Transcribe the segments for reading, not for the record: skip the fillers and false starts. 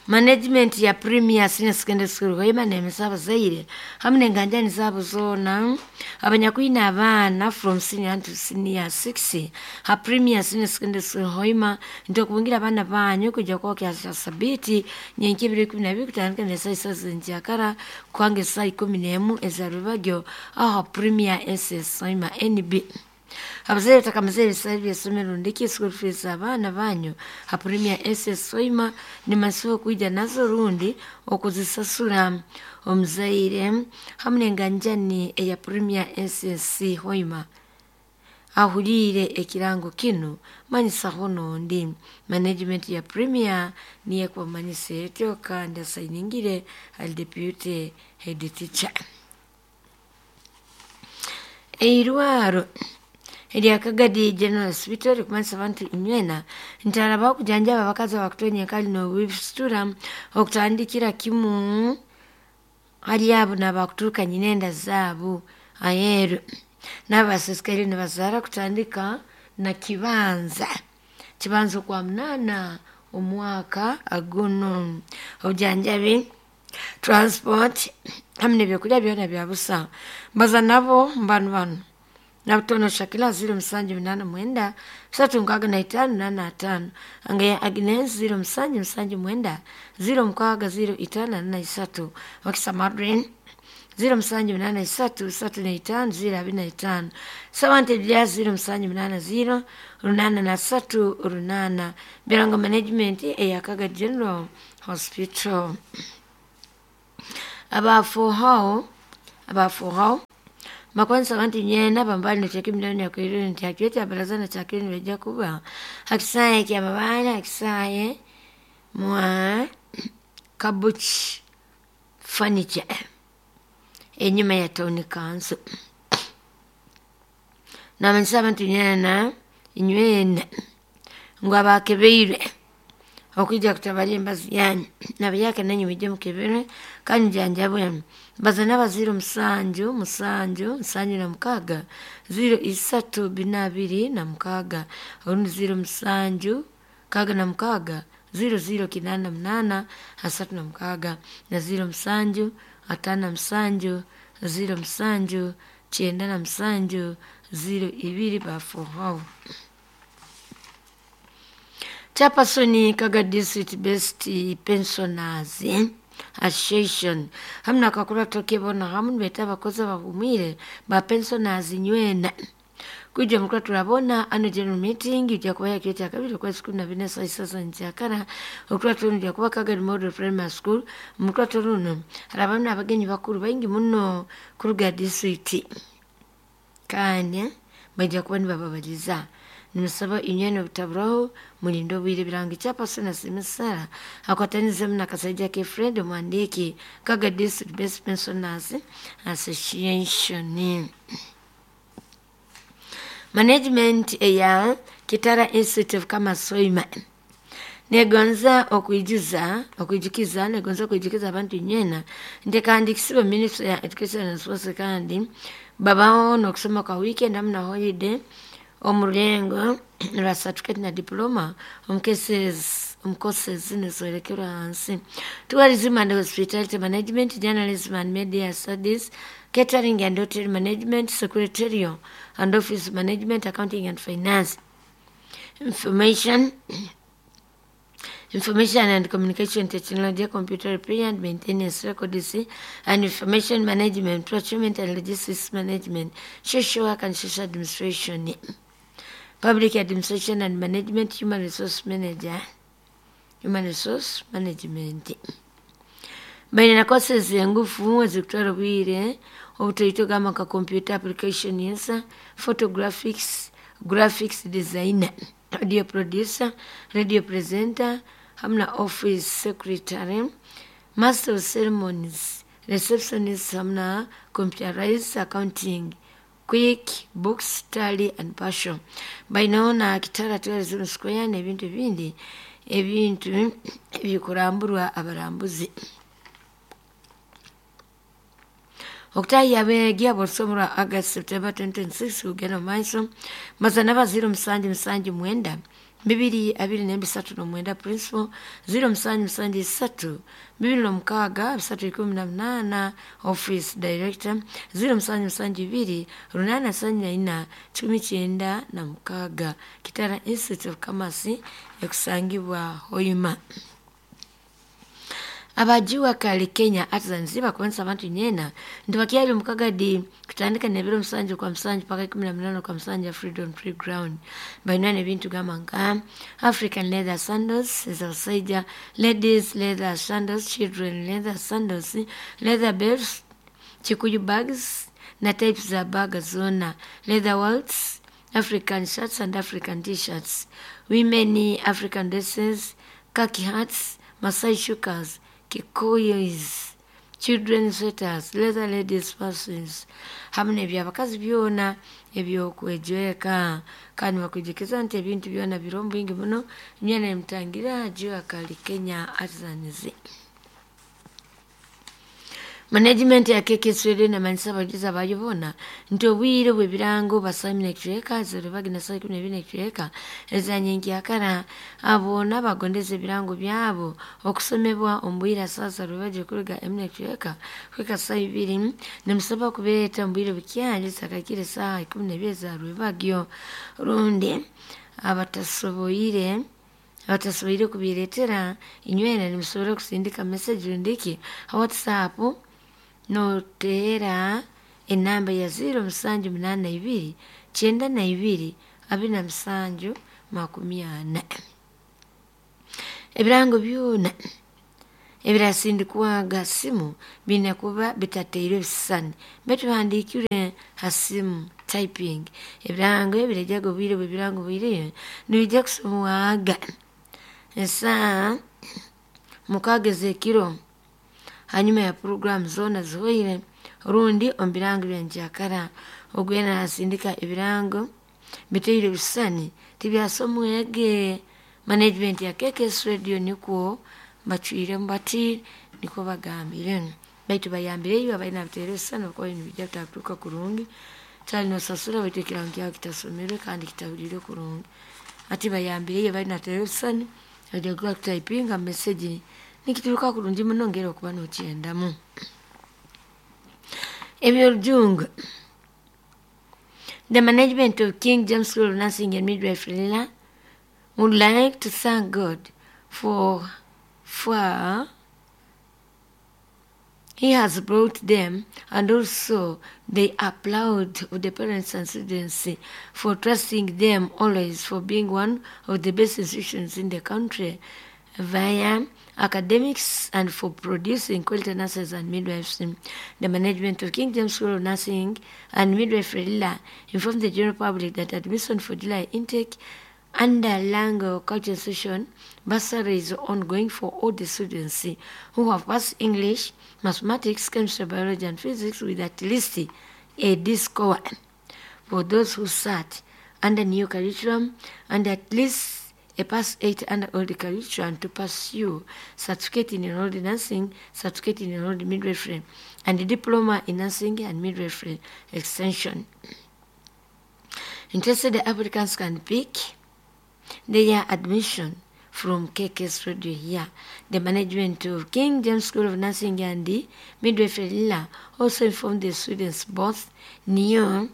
Management ya Premier Senior Secondary School Hoima nemesa abazaire hamu n'enganjani zaabo zoona abanyakwine abaana from senior to senior 6 ha Premier Senior Secondary School Hoima nti okubungira abaana banyu kujya kuba kya sabiti nyenki 2012 kutandika n'esaaha 3 z'enkyakara kuhanga esaaha 11 eza rwebagyo aho ha Premier SS Hoima NB. Abazaire batakamazire ebisale by'essomero rundiki school fees abaana banyu ha Premier SS Hoima nimasiba okwija nazo rundi okuzisasura. Omuzaire hamu n'enganjani eya Premier SS Hoima ahuliire ekirango kinu manyisaho n'ondi. Management ya Premier niyo ekubamanyisa etyo kandi asayiningire ali deputy head teacher. Eirwaro erya Kagadi General Hospital rikumanyisa abantu inywena nti harabaho kujanjaba abakazi abakutonya enkali n'obufisitula okutandikira kimu hali abo n'abakuturuka nyina enda zaabo aheeru n'abasisikaire nibazaara kutandika na kibanza kibanza okwa munaana omwaka guno. Obujanjabi, transport hamu n'ebyokurya byona bya busa. Mbaza nabo mbanu banu Nabutono Shakila 0789 365 85, Angeya Agnes 0779 06 0543, Wakisa Madrin 0783 35 025, Sawante Bya 0780 83 8, Birango Management eya Kaga General Hospital. Abafuhao abafuhao makwanisa abantu nyena bambali nekyeka emiliyoni yakwirire nti hakiro kya baraza na kyakiro nibajja kuba hakisaaye kya mabaale hakisaaye mwa Kabuchi Furniture enyuma ya town council. Namanyisa abantu nyena inywena ngu abakebeirwe okwija kutabara embazi yanyu nabayaka nanyu mwije mukeberwe kandi mujanjabwe. Mbaza n'aba 07 7 76 03 426 orundi 07 66 00 88 36 na 07 57 07 97 02 bafuhaho. Chairperson Kaga District Best Pensioners Association hamu nakakurato kebona hamu nibeeta abakozi abahumwire ba pensioners nywena kwija mukura turabona ano general meeting ijja kuba yakiro kya kabiri okwezi 14 saa 9 z'enkyakara. Okurato runo ijja kuba Kagadi Model Primary School. Mukurato runo harabamu n'abagenyi bakuru baingi muno kuruga district kandi baija kuba nibababaliza. Nimusaba inywena obutaburaho mulinde obwire. Birango Chairperson Asiimwe Sarah akwatanizemu na Kasaija K Fred omuhandiiki Kaga District Best Pensioners Association. Management eya Kitara Institute of Commerce Hoima negonza okwijuza okwijukiza negonza okwijukiza abantu inywena nti kandi kisiba Ministry ya Education and Sports kandi babaho n'okusoma kwa weekend hamu na holiday omu rulengo rwa certificate na diploma omu cases omu courses zinu ezolekerwa hansi: tourism and hospitality management, journalism and media studies, catering and hotel management, secretarial and office management, accounting and finance, information and communication technology, computer repair and maintenance, records and information management, procurement and logistics management, social work and social administration, public administration and management, human resource manager, human resource management. Baine na courses engufu ezikutwara obwire obutoito gamba nka computer applications, photographics, graphics designer, audio producer, radio presenter, hamu na office secretary, master of ceremonies, receptionist hamu na computerized accounting, quick books, tally and partial. Baineho na Kitara Tourism Square n'ebintu ebindi ebintu ebikuramburwa abarambuzi. Okutaahiya abeegi ab'orusomo rwa August September 2026 kugenda omu maiso maza n'aba 0779 2 24 39, principal 077 3 26 318, office director 0772 874 196. Kitara Institute of Commerce ekusangibwa Hoima. Abajiwa kali Kenya Artisans bakubanisa abantu nyena nti bakyali omukagadi kutandika nebiro 7 kwa 7 paka 18 kwa 7 ya Freedom Playground. Balina ebintu gamba nka African leather sandals ez'abasajja, ladies leather sandals, children leather sandals, leather belts, kikuyu bags na types za baga zoona, leather wallets, African shirts and African t-shirts, women African dresses, khaki hats, Masai shukas, kikoyis, children sweaters, leather ladies purses, hamu n'ebyabakazi byona ebyokwejweka. Kandi bakwijukiza nti ebintu byona biri omu bwingi muno, nywena nimutangira Jua Kali Kenya Artisans. Management ya KKS Radio nemanyisa abajuzi abayo boona nti obwire bw'ebirango basaimine ekicweka ziribagi na saa 12 ekicweka ezanyenkyakara. Abo n'abagondeza ebirango byabo okusomebwa omu bwire saa rwebagyo kuruga 1 ekicweka kuhika saa 2, nimusaba kubeeta omu bwire bukyali sakakire saaha 12 za rwebagyo, rundi abatasoboire kubireetera inywena nimusobora kusindika message rundiki ha WhatsApp noteera enamba ya 0782 92 27 40. Ebirango byona ebirasindikwaga simu biine kuba bitateirwe ebisisani baitu bihandiikirwe ha simu typing. Ebirango ebiraijaga obwire bw'ebirango bwireyo nibijja kusomwaga esaaha 6 ez'ekiro hanyuma ya puroguramu zoona zihoire, rundi omu birango bya nkyakara. Ogwena nasindika ebirango bitaire ebisisani tibyasomwege. Management ya KKS Radio nikwo bacwiremu bati, nikwo bagambire, baitu bayambireyo abaine biteire ebisisani habwokuba nibijja bitatuuka kurungi, kyali nosasura baitu ekirango kyawe kitasomerwe kandi kitahuliirwe kurungi. Hati bayambireyo abaine bateire ebisisani baija kuba kutayipinga message nikituruka kurungi muno ngeri okuba nokyendamu. Eby'orujungu. The management of King James School of Nursing and Midwifery would like to thank God for he has brought them, and also they applaud the parents and students for trusting them always, for being one of the best institutions in the country via academics and for producing quality nurses and midwives. The management of King James School of Nursing and Midwifery informed the general public that admission for July intake under Lango Culture Session bursary is ongoing for all the students who have passed English, mathematics, chemistry, biology, and physics with at least a D score. For those who sat under new curriculum and at least a pass 8 under old curriculum to pursue certificate in enrolled nursing, certificate in enrolled midwifery, and a diploma in nursing and midwifery extension. Interested applicants can pick their admission from KKS Radio here. The management of King James School of Nursing and the Midwifery also informed the students both new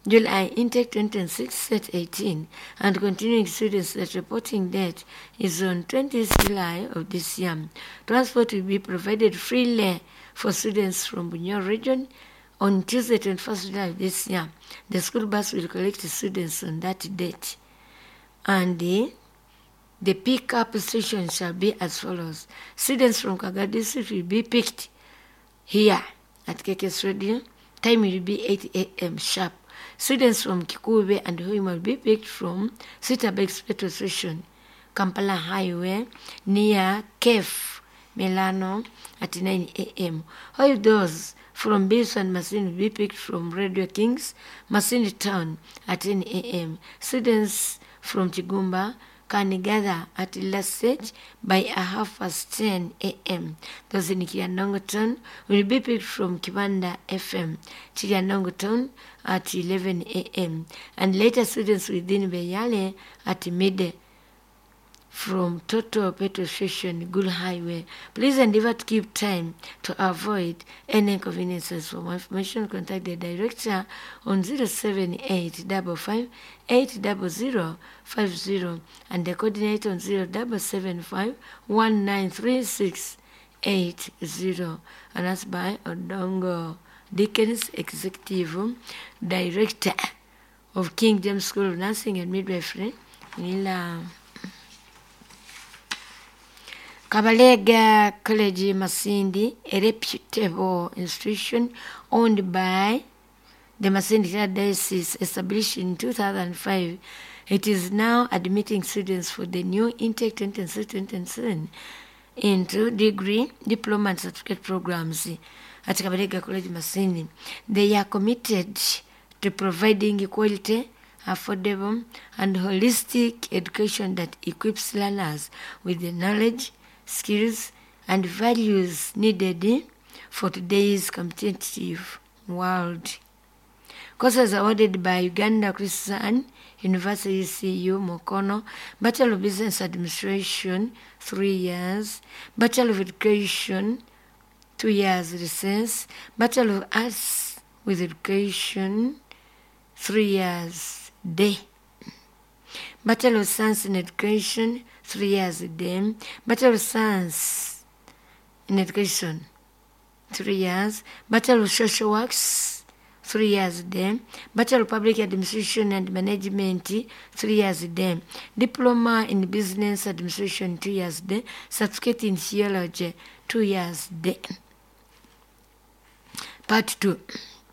July intake 2026 set 18 and continuing students that reporting date is on 20th July of this year. Transport will be provided freely for students from Bunyoro region on Tuesday 21st July this year. The school bus will collect students on that date. And the pick-up station shall be as follows. Students from Kaga district will be picked here at KKS Radio. Time will be 8 a.m. sharp. Students from Kikube and Hoima will be picked from Sitabex petrol station, Kampala Highway, near Kef, Milano at 9 a.m. All those from Bis and Masini will be picked from Radio Kings, Masini Town at 10 a.m. Students from Chigumba, can gather at Lassage by 10:30 a.m. Those in Kiryandongo town will be picked from Kibanda FM, Kiryandongo town at 11 a.m. And later students within Beyale at midday from Total Petrol Station, Good Highway. Please endeavor to keep time to avoid any inconveniences. For more information, contact the director on 078 55 800 50 and the coordinator on 0775 1936 80. And that's by Odongo Dickens, Executive Director of King James School of Nursing and Midwifery, Nila. Kabalega College Masindi, a reputable institution owned by the Masindi Diocese, established in 2005. It is now admitting students for the new intake 2026-2027 into degree, diploma, and certificate programs at Kabalega College Masindi. They are committed to providing quality, affordable, and holistic education that equips learners with the knowledge, skills, and values needed for today's competitive world. Courses awarded by Uganda Christian University CU Mukono, Bachelor of Business Administration, 3 years, Bachelor of Education, 2 years recess, Bachelor of Arts with Education, 3 years day. Bachelor of Science in Education, 3 years day. Bachelor of Science in Education, 3 years. Bachelor of Social Works, 3 years day. Bachelor of Public Administration and Management, 3 years day. Diploma in Business Administration, 2 years day. Certificate in Theology, 2 years day. Part 2.